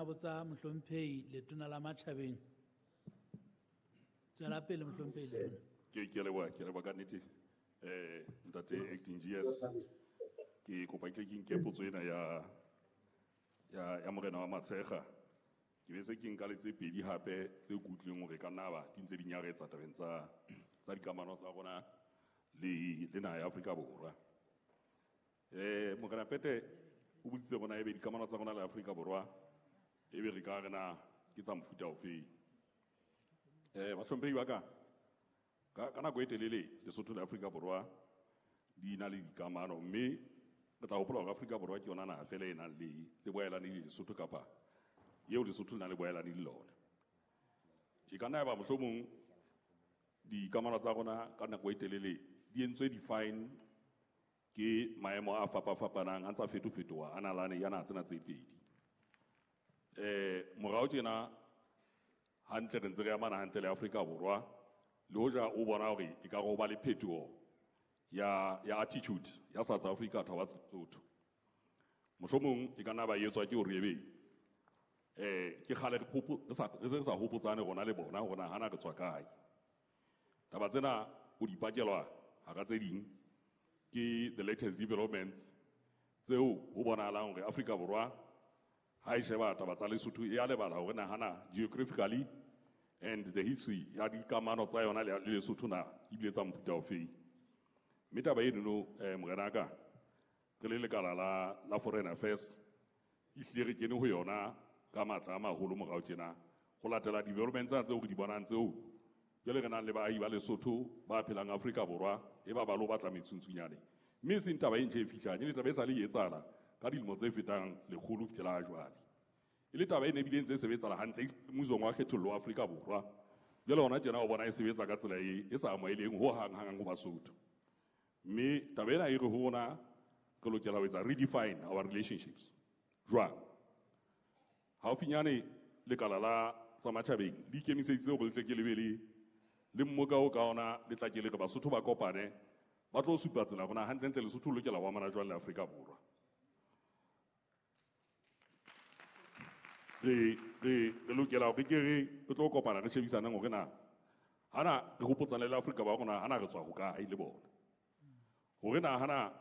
nna botsa mohlomphehi letona la matjhabeng. Tswela pele mohlomphehi letona. Ke a leboha, ke a leboha ka nnete. Ntate acting GS, ke kopa ke tle ke nke potso ena ya morena wa Matshekga. Ke be se ke nka le tse pedi hape tse ke utlwileng hore ka nna ba di ntse di nyaretsa tabeng tsa dikamano tsa rona le naha ya Afrika Borwa. Morena Pete o boditse rona ebe dikamano tsa rona le Afrika Borwa ebe re ka re na ke tsa mofuta ofeng. Bahlomphehi ba ka, ka nako e telele Lesotho le Afrika Borwa di na le dikamano, mme re tla hopola hore Afrika Borwa ke yona naha fela e nang le boahelani le Lesotho kapa eo Lesotho le nang le boahelani le lona. E ka nna ya ba mohlomong dikamano tsa rona ka nako e telele di entswe define ke maemo a fapafapanang a ntsa fetofetoha a nalane ya naha tsena tse pedi. Morao tjena hantle re ntse re amana hantle le Afrika Borwa, le hoja o bona hore e ka re ho ba le phetoho ya attitude ya South Africa towards Lesotho. Mohlomong e ka nna ba etswa ke hore ebe ke kgale re re sa, re se re sa hopotsane rona le bona hore na hana re tswa kae. Taba tsena o di pakelwa hara tse ding ke the latest developments tseo ho bonahalang hore Afrika Borwa ha e sheba taba tsa Lesotho e a lebala hore na hana geographically and the history ya dikamano tsa yona le Lesotho na ebile tsa mofuta ofeng. Mme taba enono, morena ka, re le lekala la Foreign Affairs, ehlile re kene ho yona ka matla a maholo morao tjena ho latela developments tsena tseo re di bonang tseo jwale re nang le baahi ba Lesotho ba phelang Afrika Borwa e ba ba lo batla metsuntsunyane. Mme e seng taba e ntjha e fihlang, e le taba e sa le e etsahala ka dilemo tse fetang lekgolo ho fihlela ha jwale. E le taba e ne bile ntse e sebetsahala hantle mmusong wa kgethollo wa Afrika Borwa. Jwale hona tjena o bona e sebetsa ka tsela e sa amoheleng ho hang hang ho Basotho. Mme taba ena e re ho rona re lokela ho etsa redefine our relationships. Jwang? Haufinyane lekala la tsa matjhabeng le ikemiseditse hore le tle ke lebe le mmoka o ka ona le tla ke le re Basotho ba kopane ba tlo supa tsela rona hantlentle Lesotho le lokela ho amana jwang le Afrika Borwa. Re lokela hore ke re tlo kopana re shebisaneng hore na hana re hopotsane le Afrika Borwa rona hana re tswa hokae le bona. Hore na hana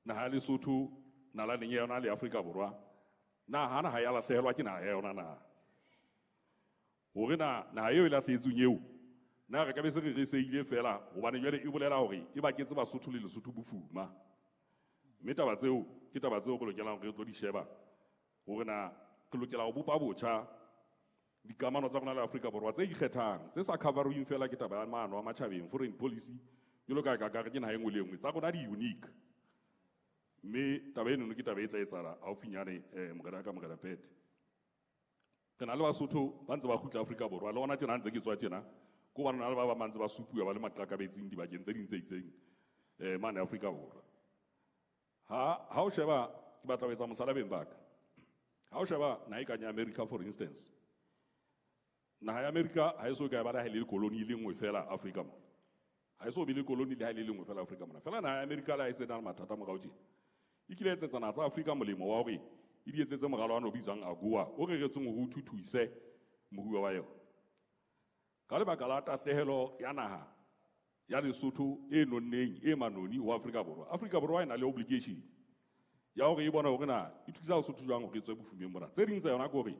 naha ya Lesotho nalaneng ya yona le Afrika Borwa na hana ha ya lahlehelwa ke naha ya yona na. Hore na naha eo e lahlehetsweng eo na re ka be se re reseile fela hobane jwale e bolela hore e baketse Basotho le Lesotho bofuma. Mme taba tseo ke taba tseo re lokelang hore re tlo di sheba hore na re lokela ho bopa botjha dikamano tsa rona le Afrika Borwa tse ikgethang tse sa coverweng fela ke taba ya maano a matjhabeng foreign policy jwalo ka ka re ke naha e nngwe le e nngwe tsa rona di unique. Mme taba enono ke taba e tla etsahala haufinyane, morena ka morena Pete. Re na le Basotho ba ntse ba kgutla Afrika Borwa le hona tjena ha ntse ke tswa tjena ko ba na le ba bang ba ntse ba supuwa ba le maqakabetsing dibakeng tse ding tse itseng, mane Afrika Borwa. Ha o sheba ke batla ho etsa mohlala beng ba ka. Ha o sheba naha e kang ya America for instance. Naha ya America ha e so ka e ba le ha e le koloni e le nngwe fela Afrika mona. Ha e so be le koloni le ha e le nngwe fela Afrika mona. Fela naha ya America le ha e se na le mathata morao tjena. E kile ya etsetsa naha tsa Afrika molemo wa hore e di etsetse moralo wa no bitswang AGOA o reretsweng hore o thuthuise moruo wa yona. Ka lebaka la tahlehelo ya naha ya Lesotho e nonneng e manoni ho Afrika Borwa. Afrika Borwa e na le obligation ya hore e bone hore na e thusa Lesotho jwang hore e tswe bofumeng bona. Tse ding tsa yona ke hore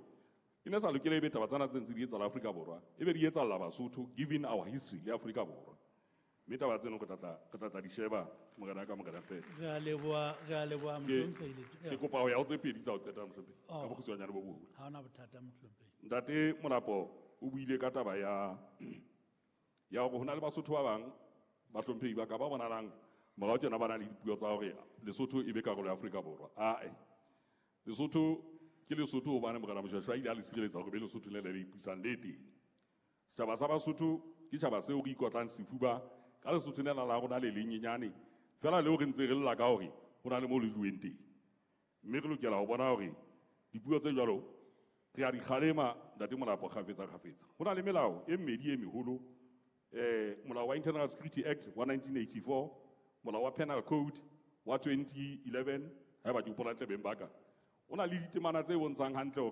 e ne sa lokela ebe taba tsena tse ntse di etsahala Afrika Borwa, e be di etsahalla Basotho given our history le Afrika Borwa. Mme taba tseno re tla tla di sheba morena ka morena Pete. Re a leboha, re a leboha, mohlomphehi Leto. Ke kopa ho ya ho tse pedi tsa ho qeta, mohlomphehi. Ka Oh. bokgutshwanyane bo boholo. Ha hona bothata, mohlomphehi. Ntate Molapo o buile ka taba ya hore ho na le Basotho ba bang bahlomphehi ba ka ba bonalang morao tjena ba na le dipuo tsa hore Lesotho e be karolo ya Afrika Borwa. Ae. Lesotho ke Lesotho hobane morena Moshoeshoe a ile a le sireletsa hore be Lesotho le le le ipusang le teng. Setjhaba sa Basotho ke tjhaba seo re ikotlang sefuba ka Lesotho lena la rona le lenyenyane fela leo re ntse re lla ka hore ho na le moo le juweng teng. Mme re lokela ho bona hore dipuo tse jwalo re a di kgalema Ntate Molapo kgafetsa kgafetsa. Ho na le melao e mmedi e meholo, molao wa Internal Security Act wa 1984, molao wa Penal Code wa 2011, haeba ke hopola hantle beng ba ka. O na le ditemana tse bontshang hantle hore